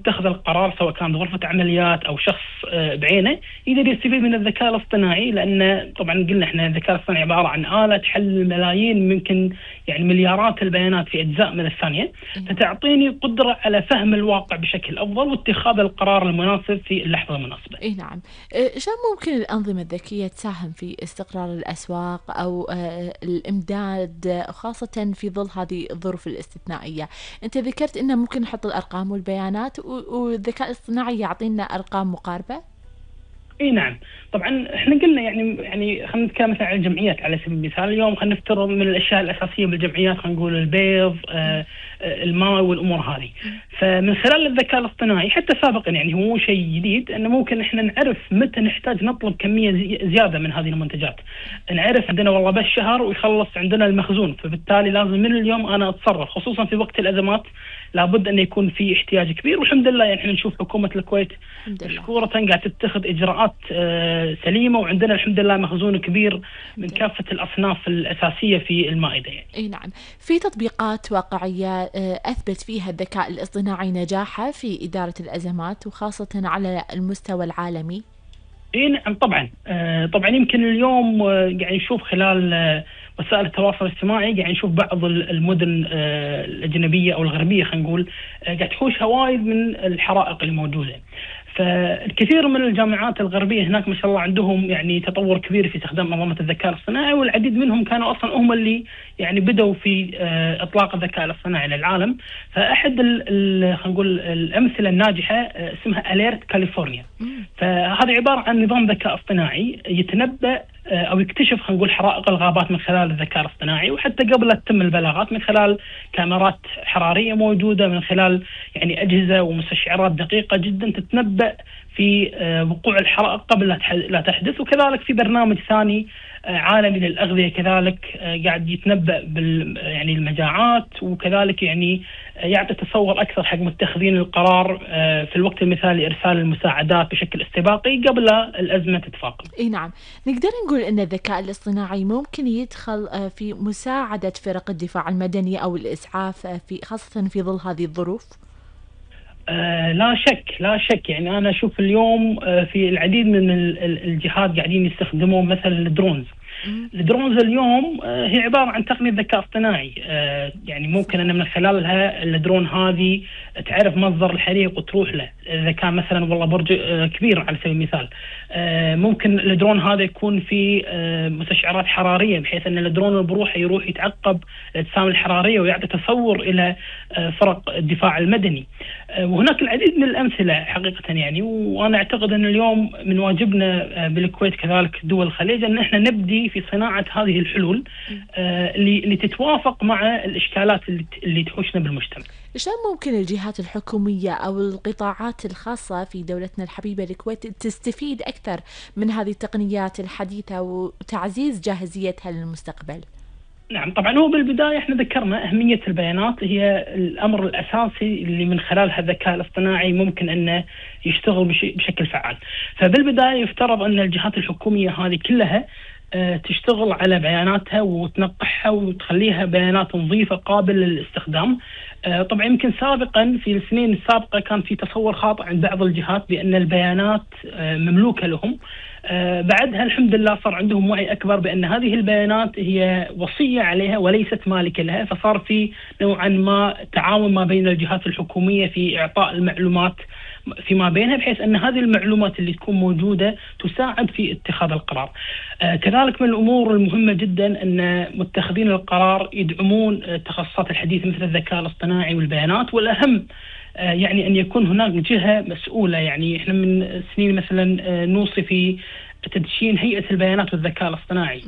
متخذ القرار سواء كان غرفة عمليات أو شخص بعينه يقدر يستفيد من الذكاء الاصطناعي، لأن طبعا قلنا إحنا الذكاء الاصطناعي عبارة عن آلة تحلل ملايين ممكن يعني مليارات البيانات في أجزاء من الثانية، فتعطيني قدرة على فهم الواقع بشكل أفضل واتخاذ القرار المناسب في اللحظة المناسبة. اي نعم. شلون ممكن الأنظمة الذكية تساهم في استقرار الأسواق أو الإمداد خاصة في ظل هذه الظروف الاستثنائية؟ أنت ذكرت إنه ممكن نحط الأرقام والبيانات والذكاء الاصطناعي يعطينا أرقام مقاربة. اي نعم، طبعا احنا قلنا يعني خلينا نتكلم مثلا عن الجمعيات على سبيل المثال. اليوم خلينا نفترض من الاشياء الاساسيه بالجمعيات خلينا نقول البيض، الماء والامور هذه. فمن خلال الذكاء الاصطناعي حتى سابقا يعني هو مو شيء جديد، انه ممكن احنا نعرف متى نحتاج نطلب كميه زياده من هذه المنتجات. نعرف عندنا والله بس شهر ويخلص عندنا المخزون، فبالتالي لازم من اليوم انا اتصرف، خصوصا في وقت الازمات لابد أن يكون في احتياج كبير. والحمد لله يعني احنا نشوف حكومة الكويت مشكورة قاعد تتخذ إجراءات سليمة، وعندنا الحمد لله مخزون كبير من كافة الأصناف الأساسية في المائدة يعني. اي نعم. في تطبيقات واقعية أثبت فيها الذكاء الاصطناعي نجاحه في إدارة الأزمات وخاصة على المستوى العالمي؟ اي نعم طبعا. طبعا يمكن اليوم قاعد نشوف خلال وسائل التواصل الاجتماعي قاعد نشوف بعض المدن الأجنبية أو الغربية خلينا نقول قاعد تحوش هوايد من الحرائق الموجودة. فالكثير من الجامعات الغربية هناك ما شاء الله عندهم يعني تطور كبير في استخدام منظومة الذكاء الاصطناعي، والعديد منهم كانوا أصلا هم اللي يعني بدأوا في إطلاق الذكاء الاصطناعي للعالم. فأحد خلينا نقول الأمثلة الناجحة اسمها أليرت كاليفورنيا. فهذا عبارة عن نظام ذكاء اصطناعي يتنبأ أو يكتشف خلينا نقول حرائق الغابات من خلال الذكاء الاصطناعي، وحتى قبل لا تتم البلاغات من خلال كاميرات حرارية موجودة، من خلال يعني أجهزة ومستشعرات دقيقة جدا تتنبأ في وقوع الحرائق قبل لا تحدث. وكذلك في برنامج ثاني عالمي للأغذية كذلك قاعد يتنبأ يعني المجاعات، وكذلك يعني يعطي تصور أكثر حق متخذين القرار في الوقت المثالي إرسال المساعدات بشكل استباقي قبل الأزمة تتفاقم. اي نعم. نقدر نقول أن الذكاء الاصطناعي ممكن يدخل في مساعدة فرق الدفاع المدني أو الإسعاف في خاصة في ظل هذه الظروف؟ لا شك يعني أنا أشوف اليوم في العديد من الجهات قاعدين يستخدمون مثلا الدرونز اليوم هي عبارة عن تقنية ذكاء اصطناعي. يعني ممكن أن من خلالها الدرون هذه تعرف مصدر الحريق وتروح له. إذا كان مثلا والله برج كبير على سبيل المثال، ممكن الدرون هذا يكون في مستشعرات حرارية بحيث أن الدرون بروحه يروح يتعقب الأجسام الحرارية ويعطي تصور إلى فرق الدفاع المدني. وهناك العديد من الأمثلة حقيقة يعني. وأنا أعتقد أن اليوم من واجبنا بالكويت كذلك دول الخليج أن احنا نبدي في صناعة هذه الحلول اللي تتوافق مع الإشكالات اللي تحوشنا بالمجتمع. شلون ممكن الجهات الحكومية أو القطاعات الخاصة في دولتنا الحبيبة الكويت تستفيد أكثر من هذه التقنيات الحديثة وتعزيز جاهزيتها للمستقبل؟ نعم طبعا، هو بالبداية احنا ذكرنا أهمية البيانات هي الأمر الأساسي اللي من خلالها الذكاء الاصطناعي ممكن أنه يشتغل بشكل فعال. فبالبداية يفترض أن الجهات الحكومية هذه كلها تشتغل على بياناتها وتنقحها وتخليها بيانات نظيفة قابلة للاستخدام. طبعا يمكن سابقا في السنين السابقة كان في تصور خاطئ عند بعض الجهات بأن البيانات مملوكة لهم. بعدها الحمد لله صار عندهم وعي أكبر بأن هذه البيانات هي وصية عليها وليست مالكة لها، فصار في نوعا ما تعاون ما بين الجهات الحكومية في إعطاء المعلومات فيما بينها، بحيث أن هذه المعلومات اللي تكون موجودة تساعد في اتخاذ القرار. كذلك من الأمور المهمة جدا أن متخذين القرار يدعمون التخصصات الحديثة مثل الذكاء الاصطناعي والبيانات، والأهم يعني أن يكون هناك جهة مسؤولة. يعني إحنا من سنين مثلا نوصي في تدشين هيئة البيانات والذكاء الاصطناعي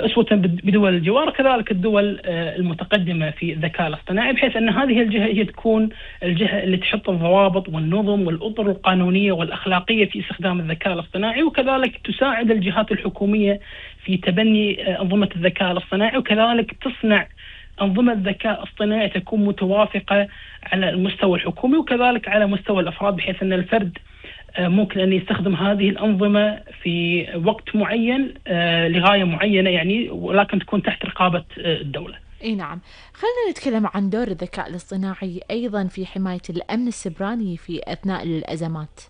أسوة بدول الجوار، كذلك الدول المتقدمة في الذكاء الاصطناعي، بحيث أن هذه الجهة هي تكون الجهة اللي تحط الضوابط والنظم والأطر القانونية والأخلاقية في استخدام الذكاء الاصطناعي، وكذلك تساعد الجهات الحكومية في تبني أنظمة الذكاء الاصطناعي، وكذلك تصنع أنظمة ذكاء اصطناعي تكون متوافقة على المستوى الحكومي وكذلك على مستوى الأفراد، بحيث أن الفرد ممكن أن يستخدم هذه الأنظمة في وقت معين لغاية معينة يعني، ولكن تكون تحت رقابة الدولة. اي نعم. خلينا نتكلم عن دور الذكاء الاصطناعي أيضا في حماية الأمن السيبراني في أثناء الأزمات.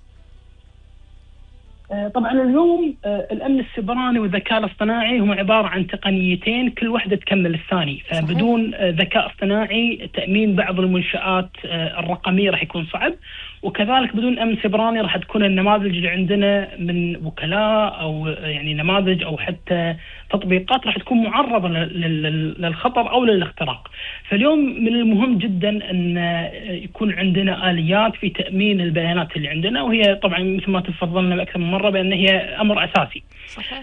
طبعا اليوم الامن السيبراني والذكاء الاصطناعي هم عباره عن تقنيتين كل واحده تكمل الثاني، صحيح. فبدون ذكاء اصطناعي تامين بعض المنشات الرقميه راح يكون صعب، وكذلك بدون امن سيبراني راح تكون النماذج اللي عندنا من وكلاء او يعني نماذج او حتى تطبيقات راح تكون معرضه للخطر او للاختراق. فاليوم من المهم جدا ان يكون عندنا اليات في تامين البيانات اللي عندنا، وهي طبعا مثل ما تفضلنا باكثر من مره بان هي امر اساسي. صحيح.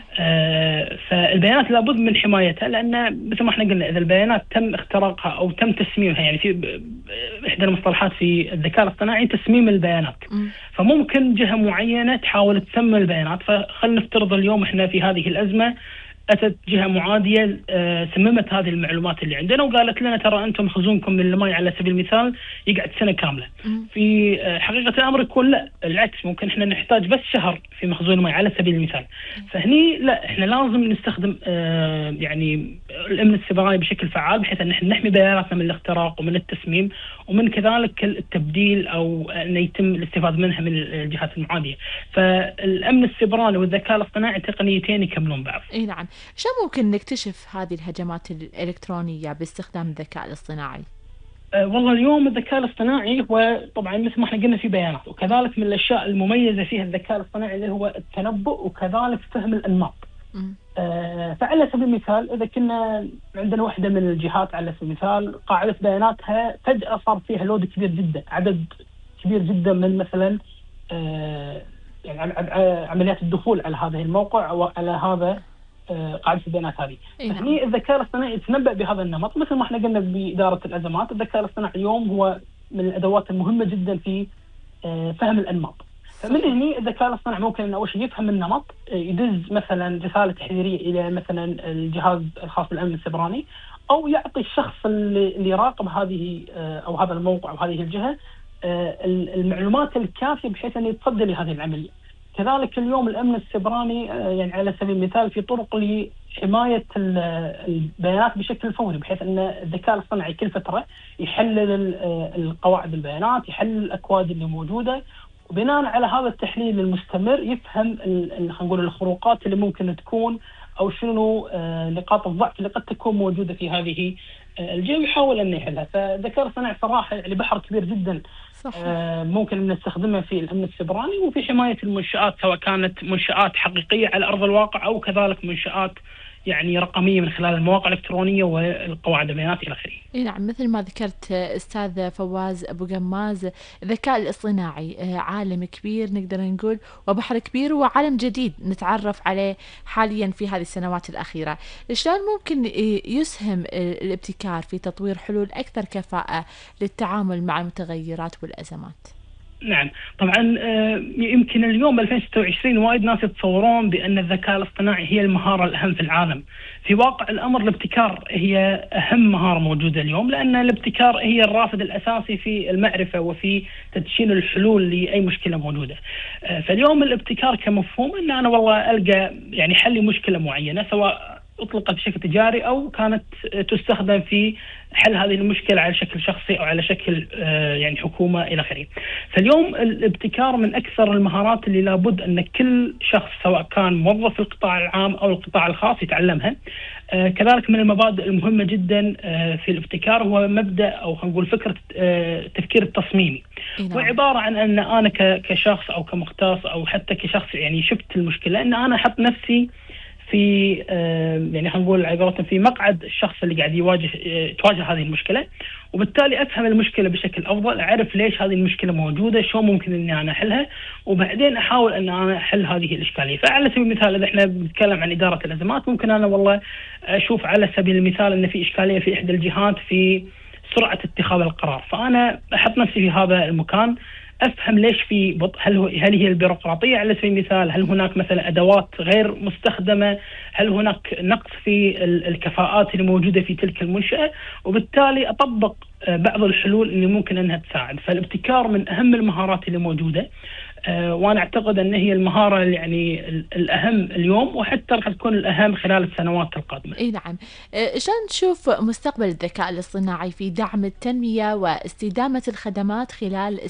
فالبيانات لابد من حمايتها، لان مثل ما احنا قلنا اذا البيانات تم اختراقها او تم تسميمها، يعني في احدى المصطلحات في الذكاء الاصطناعي تسميم البيانات. فممكن جهه معينه تحاول تسمم البيانات، فخلينا نفترض اليوم احنا في هذه الازمه اتت جهه معاديه سممت هذه المعلومات اللي عندنا وقالت لنا ترى انتم خزونكم من الماء على سبيل المثال يقعد سنه كامله. في حقيقه الامر يكون لا، العكس، ممكن احنا نحتاج بس شهر في مخزون الماء على سبيل المثال. فهني لا، احنا لازم نستخدم يعني الامن السيبراني بشكل فعال بحيث ان احنا نحمي بياناتنا من الاختراق ومن التسميم، ومن كذلك التبديل او ان يتم الاستفاده منها من الجهات المعاديه. فالامن السيبراني والذكاء الاصطناعي تقنيتين يكملون بعض. اي نعم. شو ممكن نكتشف هذه الهجمات الإلكترونية باستخدام الذكاء الاصطناعي؟ والله اليوم الذكاء الاصطناعي هو طبعا مثل ما احنا قلنا في بيانات، وكذلك من الاشياء المميزه فيها الذكاء الاصطناعي اللي هو التنبؤ وكذلك فهم الانماط. فعلى سبيل المثال اذا كنا عندنا واحده من الجهات على سبيل المثال قاعده بياناتها فجاه صار فيها لود كبير جدا، عدد كبير جدا من مثلا يعني عمليات الدخول على هذا الموقع او على هذا قاعده البيانات هذه. فهني الذكاء الاصطناعي يتنبأ بهذا النمط، مثل ما احنا قلنا بإدارة الأزمات، الذكاء الاصطناعي اليوم هو من الأدوات المهمة جدا في فهم الأنماط. فمن هنا الذكاء الاصطناعي ممكن انه اول شيء يفهم النمط، يدز مثلا رسالة تحذيرية إلى مثلا الجهاز الخاص بالأمن السيبراني، أو يعطي الشخص اللي يراقب هذه أو هذا الموقع أو هذه الجهة المعلومات الكافية بحيث أن يتصدى لهذه العملية. كذلك اليوم الأمن السيبراني يعني على سبيل المثال في طرق لحماية البيانات بشكل فوري، بحيث أن الذكاء الاصطناعي كل فترة يحلل القواعد البيانات، يحلل الأكواد اللي موجودة، وبناء على هذا التحليل المستمر يفهم خلينا نقول الخروقات اللي ممكن تكون أو شنو نقاط الضعف اللي قد تكون موجودة في هذه الجهة ويحاول أن يحلها. فالذكاء الاصطناعي صراحة يعني بحر كبير جدا. ممكن نستخدمه في الأمن السيبراني وفي حماية المنشآت، سواء كانت منشآت حقيقية على أرض الواقع أو كذلك منشآت يعني رقمية من خلال المواقع الإلكترونية والقواعد البيانات إلى آخره. نعم، مثل ما ذكرت أستاذ فواز أبو قماز، الذكاء الاصطناعي عالم كبير نقدر نقول، وبحر كبير، وعالم جديد نتعرف عليه حاليا في هذه السنوات الأخيرة. شلون ممكن يسهم الابتكار في تطوير حلول أكثر كفاءة للتعامل مع المتغيرات والأزمات؟ نعم طبعا يمكن اليوم 2026 وايد ناس يتصورون بأن الذكاء الاصطناعي هي المهارة الأهم في العالم. في واقع الأمر الابتكار هي أهم مهارة موجودة اليوم، لأن الابتكار هي الرافد الأساسي في المعرفة وفي تدشين الحلول لأي مشكلة موجودة. فاليوم الابتكار كمفهوم أن أنا والله ألقى يعني حل لمشكلة معينة، سواء أطلقت بشكل تجاري أو كانت تستخدم في حل هذه المشكلة على شكل شخصي أو على شكل يعني حكومة إلى آخره. فاليوم الابتكار من أكثر المهارات اللي لابد أن كل شخص سواء كان موظف في القطاع العام أو القطاع الخاص يتعلمها. كذلك من المبادئ المهمة جدا في الابتكار هو مبدأ أو خلينا نقول فكرة التفكير التصميمي. وعبارة عن أن أنا كشخص أو كمختص أو حتى كشخص يعني شفت المشكلة، أن أنا أحط نفسي في يعني خلينا نقول عبارة في مقعد الشخص اللي قاعد تواجه هذه المشكلة، وبالتالي أفهم المشكلة بشكل أفضل، أعرف ليش هذه المشكلة موجودة، شو ممكن إني أنا أحلها، وبعدين أحاول أن أنا أحل هذه الإشكالية. فعلى سبيل المثال إذا إحنا بنتكلم عن إدارة الأزمات، ممكن أنا والله أشوف على سبيل المثال أن في إشكالية في إحدى الجهات في سرعة اتخاذ القرار، فأنا أحط نفسي في هذا المكان، أفهم ليش في بطء، هل هي البيروقراطية على سبيل المثال، هل هناك مثلا أدوات غير مستخدمة، هل هناك نقص في الكفاءات اللي موجودة في تلك المنشأة، وبالتالي أطبق بعض الحلول اللي ممكن أنها تساعد. فالابتكار من أهم المهارات اللي موجودة. وأنا أعتقد أن هي المهارة يعني الأهم اليوم، وحتى راح تكون الأهم خلال السنوات القادمة. اي نعم. شلون تشوف مستقبل الذكاء الاصطناعي في دعم التنمية واستدامة الخدمات خلال